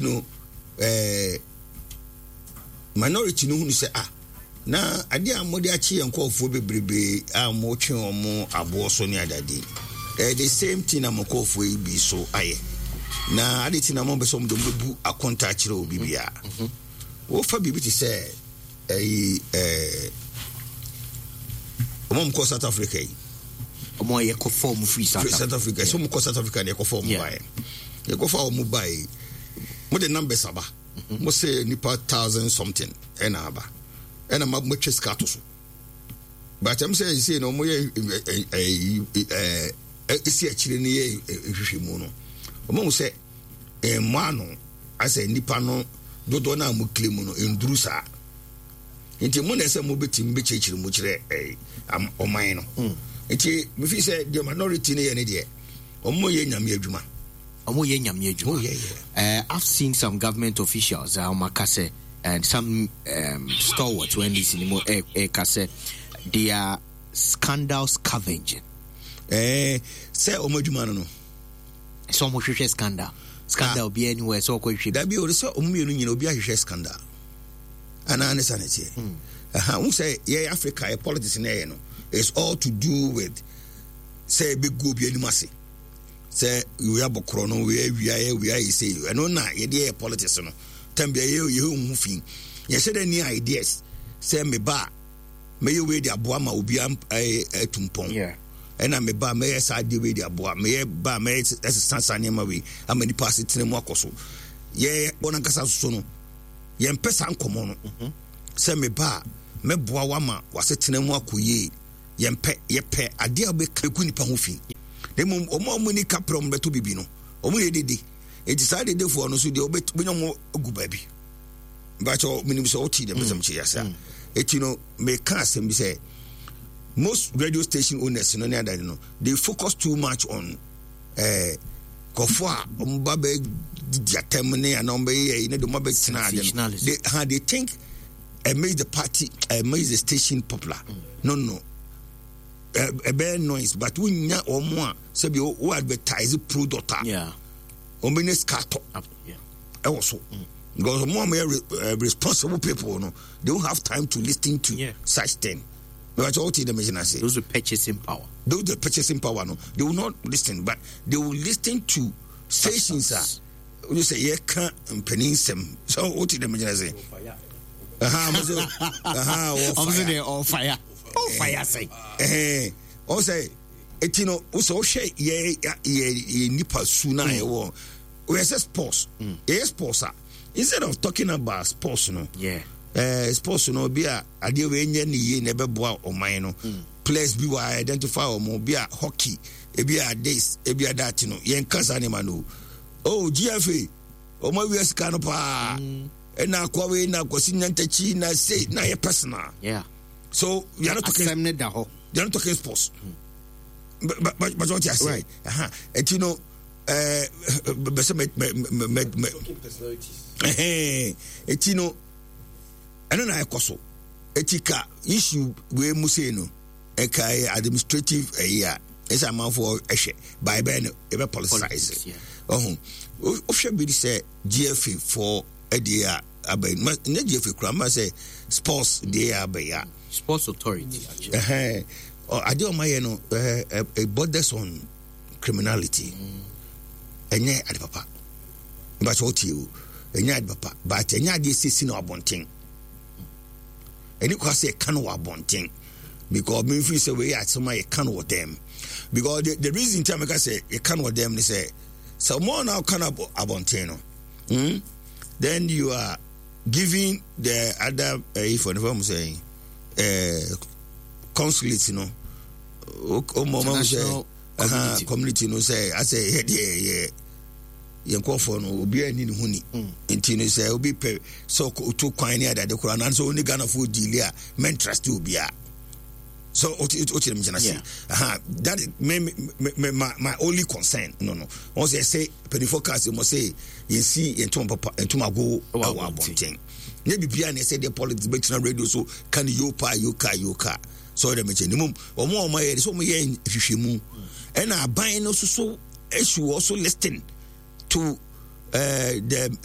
No minority no hunu sɛ ah, na adeɛ a mode akye yɛn nkurɔfoɔ bebrebe a motwe wɔn aboɔ so ne adade, the same thing na mo nkurɔfoɔ yi bi so ayɛ, na ade ti na mo bɛ sɛ wɔn de wɔn bɛbu akonta akyerɛ obi biara. Wofa biribi te sɛ ɛyi wɔn a wɔkɔ South Africa yi. Wɔn a yɛkɔ fɔm firi South Africa. South Africa sɛ wɔn kɔ South Africa na yɛkɔ fɔm baeɛ, yɛkɔ fa wɔn baeɛ, mo de numbers aba. Mo sɛ nipa thousand something ɛna aba, ɛna mo atwa sika ato so, but ɛm sɛ ɛsɛ na wɔn yɛ ɛyi ɛsi akyire no yɛ nhwehwɛmu no, wɔn ahu sɛ ɛmmɔ ano asɛ nipa no dodoɔ no a mo kile mu no nduru saa, nti mo na ɛsɛ mo bɛtumi bɛkyerɛkyerɛ mu kyerɛ ɔman no. Nti mefi sɛ deɛ minority no yɛ ne deɛ, ɔmo yɛ Nyame adwuma. Ɔmo yɛ Nyame adwuma. Oh, yeah. I've seen some government officials a ɔmo aka sɛ, and some stalwarts wɔ NDC ni mu ɛka sɛ they are scandal scavenging. Sɛ ɔmo adwuma no. Sɛ ɔmo hwehwɛ scandal. Scandal bi anywhere sɛ ɔkɔ hwehwɛ. Dabi o, sɛ ɔmo mmienu nyina obi ahwehwɛ scandal. Anaa ne sa ne teɛ. Aha, wo sɛ yɛ Africa yɛ politics na yɛ no, it's all to do with sɛ ebegu obi anim ase. Sɛ wei abɔ korɔ no, wei awia yɛ, wei ayɛ sei. Ɛno na yɛde yɛ politics no. Tam bia yɛ yɛ hu fi. Yɛhyɛ dɛ ni ideas sɛ me ba mɛyɛ wei de aboa ma obi atu mpɔn. Ɛna me ba mɛyɛ saa adeɛ wei de aboa, mɛyɛ ba mɛyɛ ɛsesa saa nneɛma wei ama nipa asetena mu akɔ so. Yɛ wɔn ankasa soso no, yɛmpɛ saa nkɔmɔ no. Sɛ me ba a mɛboa wa ma wasetena mu akɔ yie, yɛmpɛ. Yɛpɛ adeɛ a bɛka egu nipa ho fi. Na mmom wɔn a wɔn ani kapra wɔn bɛtɔ bibi no, wɔn yɛ dede. Eti saa dedefoɔ no so deɛ wɔbɛnya wɔn agu baabi. Bakyɛ menim sɛ wote deɛ pɛsɛm kyerɛ ase a. Eti no meka asɛm bi sɛ most radio station owners no ne adade no, they focus too much on kɔfo a wɔn ba bɛ didi atɛm ne anaa wɔn bɛyɛ yɛ ne de wɔn abɛ tena ade no, they think it makes the party, it makes the station popular. No, ɛbɛyɛ noise, but wonya wɔn a sɛbi wo advertise product a wɔn bɛ nye sika tɔ ɛwɔ so, because wɔn a wɔyɛ responsible people no, they don't have time to listen to such thing. But all the machine say those with purchasing power. Those with purchasing power no, they will not listen, but they will listen to stations a you say yeah can mpanin nsɛm so what the machine say. Aha, mo say aha, ɔmo sɛ all fire, all fire say. Ɔmo sɛ eti no o sɛ ɔhwɛ yɛ nipa su na yɛ wɔ oyɛ sɛ sports, yɛ sports a, instead of talking about sports no, sports no bi a adeɛ wei nyɛ ne yie na ɛbɛboa ɔman no, players bi wɔ identify wɔn bi a hockey, ebi a this, ebi a that no, yɛn kasa ne ma no. Oh, GFA wɔn awia sika no paa, ɛna akɔ wei na akɔsi nyantakyi na say na yɛ personal. So we are not talking, asɛm ne da hɔ. We are not talking sports. But what you say, eti no bɛsɛ mɛ mɛ mɛ mɛ eti no ɛno na ɛkɔ so. Eti ka issue wei mu sei no, ɛka yɛ administrative ɛyi a ɛsɛ amanfoɔ ɛhwɛ by bɛn no ɛbɛ politicize. Ɔho wohwɛ bi sɛ GFA foɔ ɛdeɛ a aba yi ma nyɛ GFA kura ma sɛ sports deɛ a aba yi a Sports Authority. Ɛhɛn, adeɛ ɔma yɛ no ɛɛ it borders on criminality. Ɛnyɛ ade papa mbakyɛ ɔtie o, ɛnyɛ ade papa, but ɛnyɛ adeɛ sisi na abɔnten ɛni kɔ sɛ ɛka no wɔ abɔnten, because mi fi sɛ wei yɛ asɛm a yɛka no wɔ dɛm, because the reason tí a meka sɛ yɛka no wɔ dɛm ne sɛ ɔmo na ɔka no abɔnten no, then you are giving the other for the form say consulate no, ɔmo ɔmo sɛ community no sɛ asɛ yɛ deɛ yɛ yɛn nkurɔfoɔ no obiara ni ne ho ni. Nti no sɛ obi pɛ sɛ ɔtu kwan ne adade koraa nanso ɔne Ghanafoɔ diili a, mɛntrust obiara. So o ti mi gyina se that me me me my only concern no wɔn sɛ mpanyinfoɔ kaa sɛ mo sɛ yɛn si yɛn ntoma papa ntoma ago ɛwɔ abɔnten ne biribiara na ɛsɛ deɛ politics bɛtena radio so ka ne yo pa yo ka yo ka so ɔdɛ mɛkyɛ ne mu wɔn a wɔn ayɛ sɛ wɔn yɛ nhwehwɛmu, ɛna aban no soso issue also listen to the